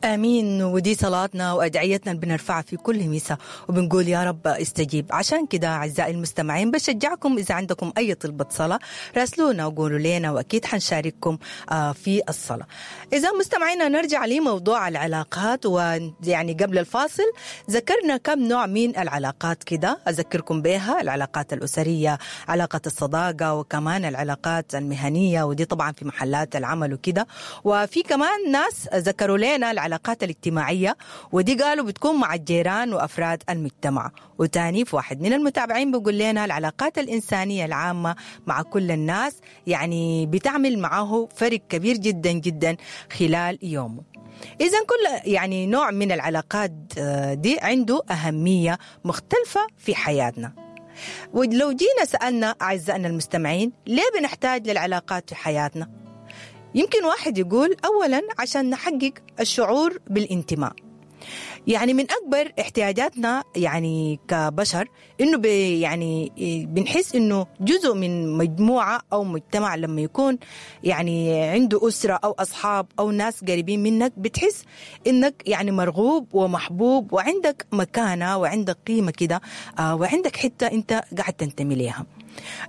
امين. ودي صلاتنا وادعيتنا اللي بنرفعها في كل مساء، وبنقول يا رب استجيب. عشان كده اعزائي المستمعين، بشجعكم اذا عندكم اي طلبه صلاه راسلونا وقولوا لنا، واكيد حنشارككم في الصلاه. اذا مستمعينا، نرجع لموضوع العلاقات، ويعني قبل الفاصل ذكرنا كم نوع من العلاقات كده، اذكركم بها: العلاقات الاسريه، علاقه الصداقه، وكمان العلاقات المهنيه، ودي طبعا في محلات العمل وكده. وفي كمان ناس ذكروا لنا العلاقات الاجتماعية، ودي قالوا بتكون مع الجيران وأفراد المجتمع. وتاني في واحد من المتابعين بيقول لنا العلاقات الإنسانية العامة مع كل الناس، يعني بتعمل معاه فرق كبير جدا جدا خلال يومه. إذا كل يعني نوع من العلاقات دي عنده أهمية مختلفة في حياتنا. ولو جينا سألنا أعزائنا المستمعين ليه بنحتاج للعلاقات في حياتنا؟ يمكن واحد يقول أولا عشان نحقق الشعور بالانتماء. يعني من أكبر احتياجاتنا يعني كبشر إنه يعني بنحس إنه جزء من مجموعة أو مجتمع. لما يكون يعني عنده أسرة أو أصحاب أو ناس قريبين منك، بتحس إنك يعني مرغوب ومحبوب وعندك مكانة وعندك قيمة كده وعندك حتة أنت قاعد تنتمي ليها.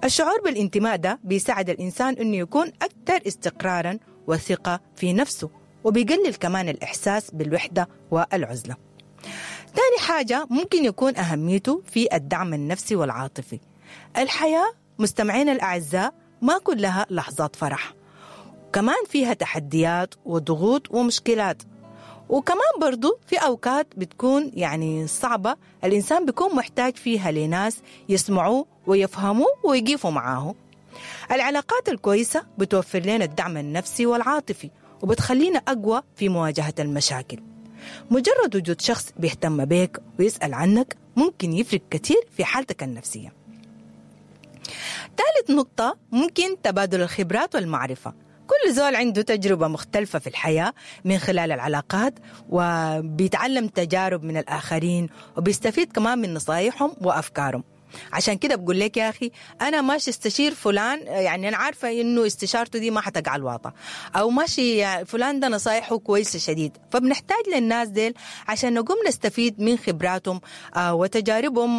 الشعور بالانتماء ده بيساعد الإنسان إنه يكون أكثر استقرارا وثقة في نفسه، وبيقلل كمان الإحساس بالوحدة والعزلة. تاني حاجة ممكن يكون أهميته في الدعم النفسي والعاطفي. الحياة مستمعينا الأعزاء ما كلها لحظات فرح، كمان فيها تحديات وضغوط ومشكلات، وكمان برضو في أوقات بتكون يعني صعبة، الإنسان بيكون محتاج فيها لناس يسمعوه ويفهموه ويقيفوا معاه. العلاقات الكويسة بتوفر لنا الدعم النفسي والعاطفي وبتخلينا أقوى في مواجهة المشاكل. مجرد وجود شخص بيهتم بك ويسأل عنك ممكن يفرق كثير في حالتك النفسية. ثالث نقطة ممكن تبادل الخبرات والمعرفة. كل زول عنده تجربة مختلفة في الحياة. من خلال العلاقات وبيتعلم تجارب من الآخرين وبيستفيد كمان من نصايحهم وأفكارهم. عشان كده بقول لك يا اخي انا ماشي استشير فلان، يعني انا عارفه انه استشارته دي ما حتقع الواطه، او ماشي فلان ده نصايحه كويسه شديد. فبنحتاج للناس ديل عشان نقوم نستفيد من خبراتهم وتجاربهم.